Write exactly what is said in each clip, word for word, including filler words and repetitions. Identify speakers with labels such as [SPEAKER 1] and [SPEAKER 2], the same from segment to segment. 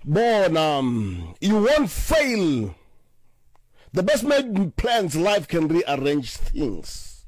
[SPEAKER 1] Bona, you won't fail. The best made plans life can rearrange things.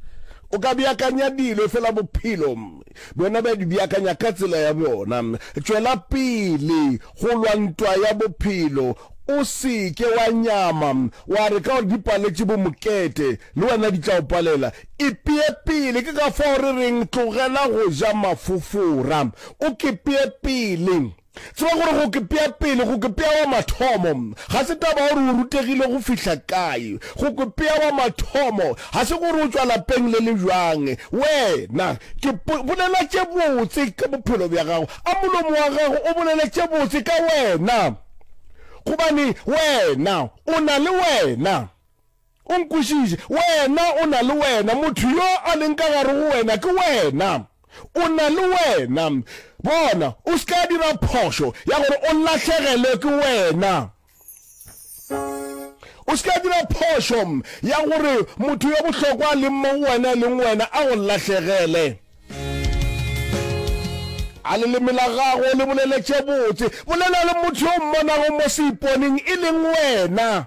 [SPEAKER 1] O ka beakanya dilo efela bophelo bjona bja di beakanya ka tsela ya bjona. Tšwela pele go lwa ntwa ya bophelo. O se ke wa nyama wa re ka gore di paletše bo Mokete, le wena di tla o palela. Ipee pele, ke ka fao re reng tlogela go ja mafofora. O kepee pele. Tseba gore go kepea pele, go kepea wa mathomo, ga se taba ya gore o rutegile go fihla kae. Go kepea wa mathomo ga se gore o tšwa lapeng le le bjang. Wena, ke bolela tše botse ka bophelo bja gago. A molomo wa gago o bolele tše botse ka wena. Gobane wena o na le wena. O nkwešiše. Wena o na le wena. Motho yo a leng ka gare go wena ke wena. O na le wena. Bona, o se ka dira phošo ya gore o lahlegelwe ke wena. O se ka dira phošo ya gore motho yo bohlokwa a leng mo go wena e leng wena a go lahlegele. A leleme la gago le bolele tše botse. Bolela le motho yo o mmonago mo seiponeng e leng wena.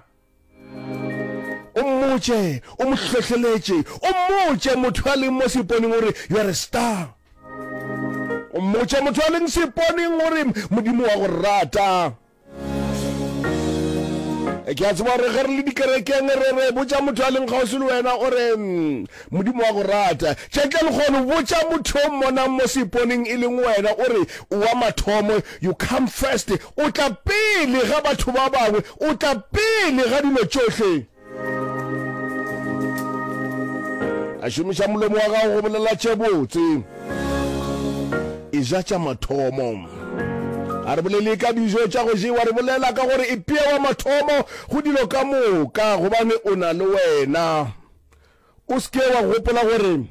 [SPEAKER 1] O mmotše, o mo hlohleletše, o mmotše motho a leng mo seiponeng o re, You are a star. O mmotše motho a leng seiponeng o re, Modimo wa go rata. Ke a tseba gore ge re le dikerekeng re re botša motho a leng kgauswi le wena o re Modimo wa go rata. Tšatši la lekgono botša motho o mmonang mo seiponeng e leng wena o re o wa mathomo, you come first, o tla pele ga batho ba bangwe, o tla pele ga dilo tšohle. A šomiša molomo wa gago go bolela tše botse. Eja tša mathomo. A re bolele ka dijo tša go jewa, re bolela ka gore ipea wa mathomo go dilo ka moka, gobane o na le wena. O se ke wa gopola gore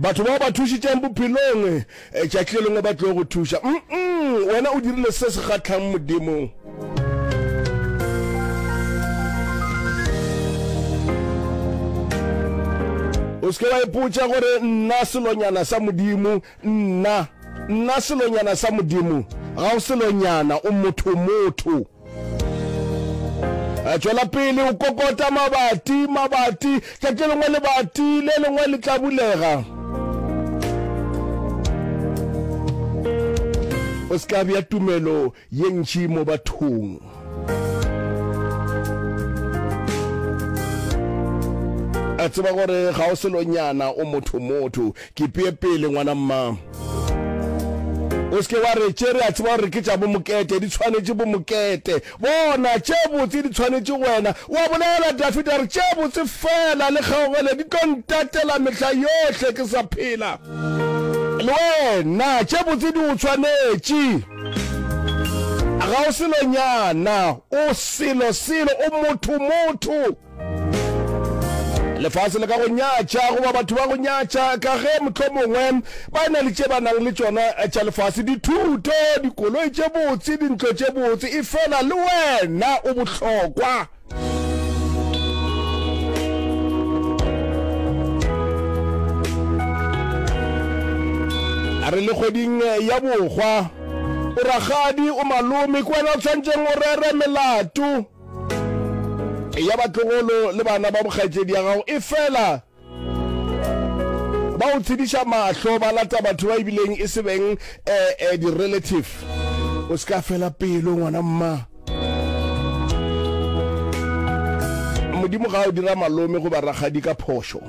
[SPEAKER 1] batho bao ba thušitšeng bophelong tšatši le lengwe ba tlo go thuša. Mm-mm, wena o dirile se se kgahlang Modimo. O se ke wa ipotša gore nna selonyana sa Modimo, nna, nna selonyana sa Modimo. Ga o selonyana, o motho motho. Tšwela pele o kokota mabati, mabati, tšatši le lengwe lebati le lengwe le tla bulega. O se ka bea tumelo ye ntši mo bathong. A tseba gore ga o selonyana, o motho motho. Ke pee pele, ngwana mma. O se ke wa re, Tše re a tseba gore ke tša bomokete, di tshwanetše bomokete. Bona, tše botse di tshwanetše wena. O a bolela, Dafida a re, Tše botse feela le kgaogelo di tlo ntatela mehla yohle ke sa phela. Le wena, tše botse di o tshwanetše. Ga o selonyana, o selo selo, o motho motho. Lefase le ka go nyatša goba batho ba go nyatša ka ge mohlomongwe ba na le tše ba nang le tšona tša lefase, dithuto, dikoloi tše botse, dintlo tše botse, efela le wena o bohlokwa. A re le kgweding ya bohwa, o rakgadi, o malome, ke wena o tshwanetšeng o rere melato ya batlogolo le bana ba bokgaetšedi ya gago, efela ba o tshediša mahlo, ba lata batho ba ebileng e se beng eh, eh, di-relative. O se ka fela pelo, ngwana mma. Modimo ga o dira malome goba rakgadi ka phošo,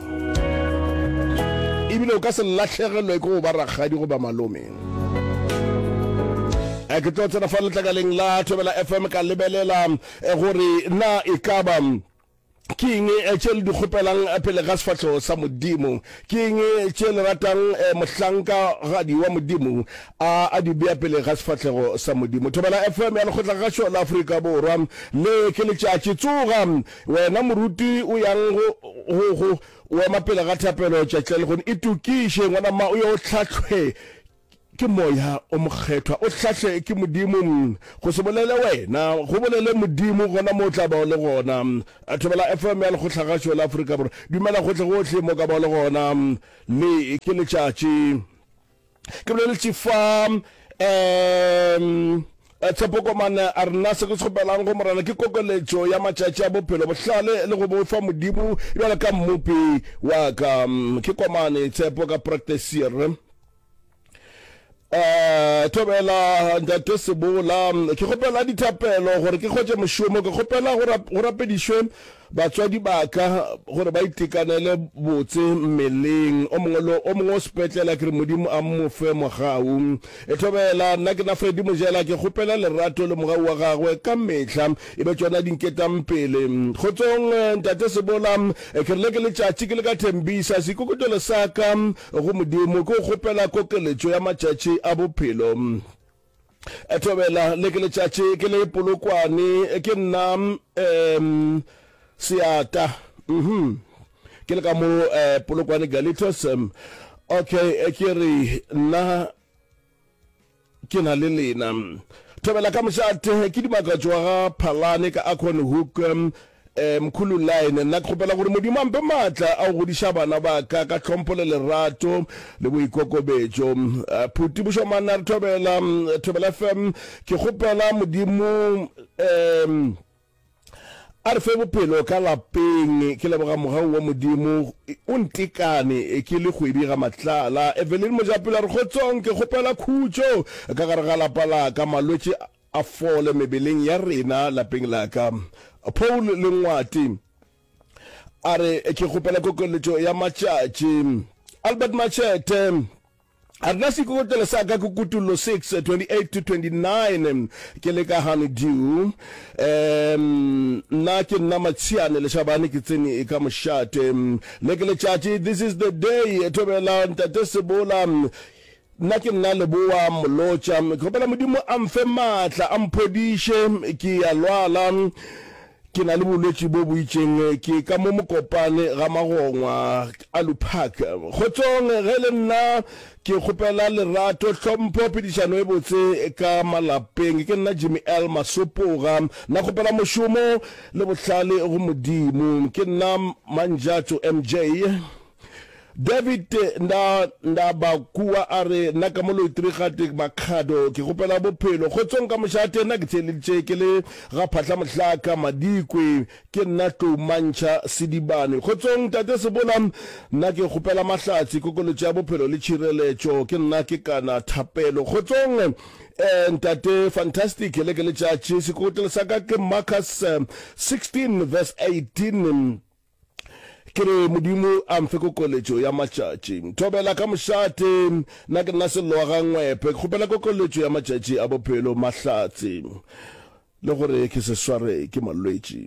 [SPEAKER 1] ebile o ka se lahlegelwe ke go ba rakgadi goba malome. Eh, ke tlo tsena fa letlakaleng la Thobela F M ka lebelela eh, gore na e ka ba ke eng eh, tše le di kgopelang pele ga sefahlego sa Modimo, ke eng tše le ratang mohlankagadi wa Modimo a a di bea pele ga sefahlego sa Modimo. Thobela F M ya Lekgotlakgašo la Afrika Borwa, le ke letšatši. Tsoga wena moruti o yang go, go, go o ema pele ga thapelo tšatši la lehono. Itokiše ngwana mma o ye o hlahlwe ke Moya o Mokgethwa, o hlahle ke Modimo. Go se bolele wena, go bolele Modimo gona mo o tla ba o le gona. Thobela F M ya Lekgotlagašo la Afrika Borwa. Dumela gohle-gohle mo ka ba o le gona. Le ke letšatši. Ke boleletše fa Um Tshepo Komane a re nna se ke se kgopelang go Morena ke kokeletšo ya matšatši a bophelo, bohlale le go boifa Modimo bjalo ka Mmopi wa ka. Ke Komane Tshepo ka Practiceer. Eh, thobela ntate Sebola, ke kgopela dithapelo gore ke hwetše mošomo, ke kgopela go rapedišwe batswadi ba ka gore ba itekanele botse mmeleng. O mongwe le o mongwe o sepetlela, ke re Modimo a mo fe mogau. E thobela, nna ke na Freddy Mojela, ke kgopela lerato le mogau wa gagwe ka mehla e be tšona di nketang pele. Kgotsong ntate Sebola, ke re le ke letšatši ke le ka Thembisa, seikokotelo sa ka Go Modimo ke go kgopela kokeletšo ya matšatši a bophelo. Thobela, le ke letšatši ke le Polokwane, ke nna um Seata. Mhm. Ke le ka mo eh, Polokwane Galitos. Okay, ke re nna Ke na le lena. Thobela ka mošate, ke Dimakatšo wa ga Phalane ka Acornhoek, eh, Mkhulu Line. Nna ke kgopela gore Modimo a mpe maatla a go godiša bana ba ka ka tlhompho le lerato le boikokobetšo. Eh, Phuti Bošomane a re thobela, Thobela F M, ke kgopela Modimo, eh, A re fe bophelo ka lapeng. Ke leboga mogau wa Modimo o ntekane ke le kgwedi ga matlala. Evelyn Mojapelo a re kgotsong ke kgopela khutšo ka gare ga lapa la ka, malwetši a fole mebeleng ya rena lapeng la ka. Paul Lengwati a re ke kgopela kokeletšo ya matšatši. Albert Machete A rena seikokotlelo sa ka ke Kutullo six, twenty-eight to twenty-nine Ke le ka Honeydew. Um, nna ke nna Matshiane Leshabane ke tsene ka mošate. Le ke letšatši, this is the day, thobela ntate Sebola. Nna ke nna Leboa Molotša. Ke kgopela Modimo a mfe maatla, a mphodiše, ke a lwala. Ke na le bolwetši bo bo itšeng, ke ka mo Mokopane ga Magongwa, Alu Park. Kgotsong, ge e le nna ke kgopela lerato, hlompho, phedišano e botse ka malapeng. Ke nna Jimmy L. Masopoga. Nna kgopela mošomo le bohlale go Modimo. Ke nna Manjatso M J. David nda nda ba kua a re, Nna ka mo Loitrigate Makhado, ke kgopela bophelo. Kgotsong ka mošate, nna ke theeleditše ke le ga Phahla Mohlaka, Madikwe. Ke nna Tlou Mantšha Sedibane. Kgotsong Tate Sebola, nna ke kgopela mahlatse, kokoletšo ya bophelo le tšhireletšo. Ke nna ke kana Thapelo. Kgotsong eh, Ntate Fantastic, le ke letšatši. Sekotlelo sa ka ke Marcus sixteen verse eighteen. Ke re Modimo a mfe kokoletšo ya matšatši. Thobela ka mošate, nna ke nna Sello wa ga Ngwepe, ke kgopela kokoletšo ya matšatši a bophelo, mahlatse, le gore ke se sware ke malwetši.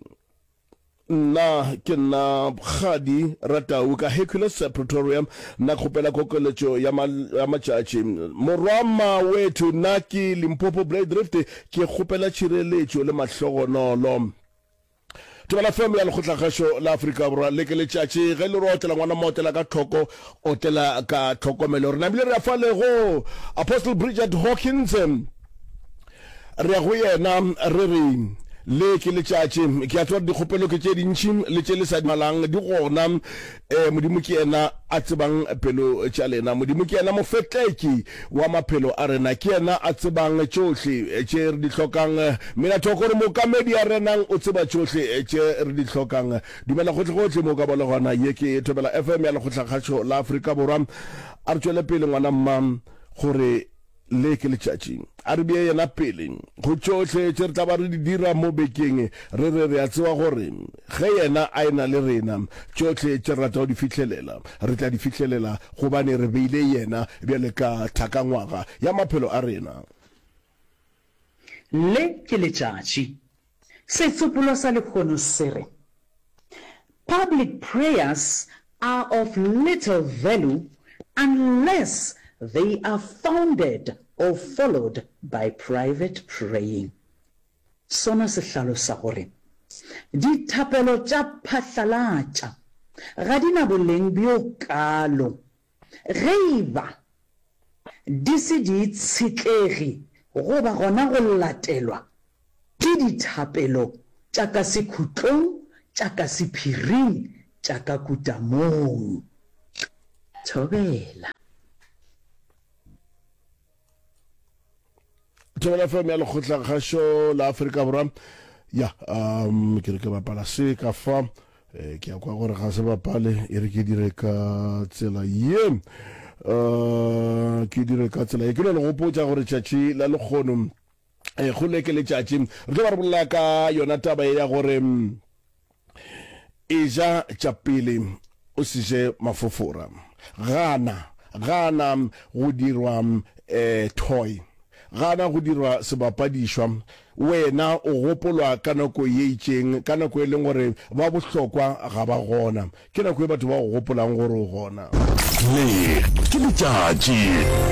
[SPEAKER 1] Nna ke nna Kgadi Ratau ka Hercules, Pretoria, nna ke kgopela kokoletšo ya ya matšatši. Morwa Mawethu, nna ke Limpopo Blade Drift, ke kgopela tšhireletšo le mahlogonolo. Thobela F M ya Lekgotlakgašo la Afrika Borwa, le ke letšatši ge le re otlela ngwana mo otlela ka tlhoko, otlela ka tlhokomelo. Re namile re ya fale go Apostle Bridget Hawkins, re ya go yena re re le ke letšatši. Ke a tseba dikgopelo ke tše dintši le tše le sa di balang di gona. Eh, Modimo ke yena a tsebang pelo tša lena. Modimo ke yena mofetleki wa maphelo a rena. Ke yena a tsebang tšohle tše re di hlokang. Mina Thoko re mookamedi a renang o tseba tšohle tše re di hlokang. Dumela gohlegohle mo o ka ba le gona. Ye ke Thobela F M ya Lekgotlakgašo la Afrika Borwa. A re tšwele pele ngwana mma gore Le ke letšatši. A re bee Yena pele go tšohle tše re tla ba re di dira mo bekeng, re re re a tseba gore ge Yena a e-na le rena, tšohle tše re ratago di fihlelela, re tla di fihlelela, gobane re beile Yena bjale ka thakangwaga ya maphelo a rena.
[SPEAKER 2] Le ke letšatši. Setsopolwa sa lehono se re, Public prayers are of little value unless they are founded or followed by private praying. Sona se hlalosa gore dithapelo tša phatlalatša ga di na boleng bjo kaalo ge e ba di se di itshetlege goba gona go latelwa ke dithapelo tša ka sekhutlong, tša ka sephiring, tša ka kutamong. Thobela.
[SPEAKER 1] Thobela F M ya Lekgotlakgašo la Afrika Borwa. Ya, um, ke re ke bapala se ka fa. Eh, ke a kwa gore ga se bapale, e re ke dire ka tsela ye. Uh, ke dire ka tsela ye. Ke no le gopotša gore tšatši la lekgono, eh, kgole ke letšatši. Re tlo ba re bolela ka yona taba ye ya gore, eja tša pele o se je mafofora. Gana, gana go dirwa eh, toy. Gana go dirwa sebapadišwa. Wena o gopolwa ka nako ye itšeng, ka nako e leng gore ba bohlokwa ga ba gona. Ke nako ye batho ba go gopolang gore o gona.
[SPEAKER 3] Le ke letšatši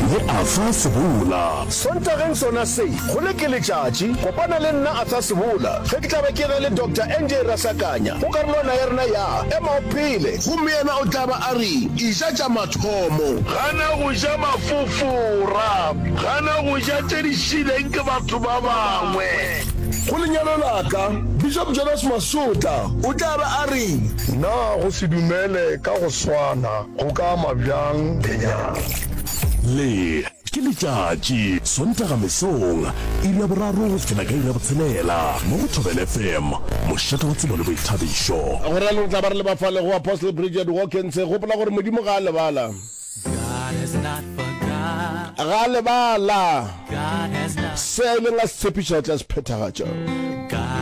[SPEAKER 3] le Arthur Sebola.
[SPEAKER 1] Sontageng sona se, go le ke letšatši, kopana le nna Arthur Sebola ge ke tla be ke na le Doctor N J Rasakanya go karolwana ya rena ya Ema o Phele. Gomme yena o tla ba a re, Eja tša mathomo.
[SPEAKER 4] Gana go ja mafofora. Gana go ja tše di šileng ke batho ba bangwe.
[SPEAKER 1] Go lenyalo la ka, Bishop Jonas Masotla o tla ba a re.
[SPEAKER 5] Na go se dumele ka go swana go ka ama bjang lenyalo?
[SPEAKER 3] Le ke letšatši, Sontaga mesong, iri ya boraro go fihlela ka iri ya botshelela, mo go Thobela F M, mošate wa tsebo le boithabišo.
[SPEAKER 1] Go realo re tla ba re leba fale go Apostle Bridget Hawkins. Gopola gore Modimo ga a lebala. Ga a lebala. Se a ileng a se tshepiša o tla se phethagatša.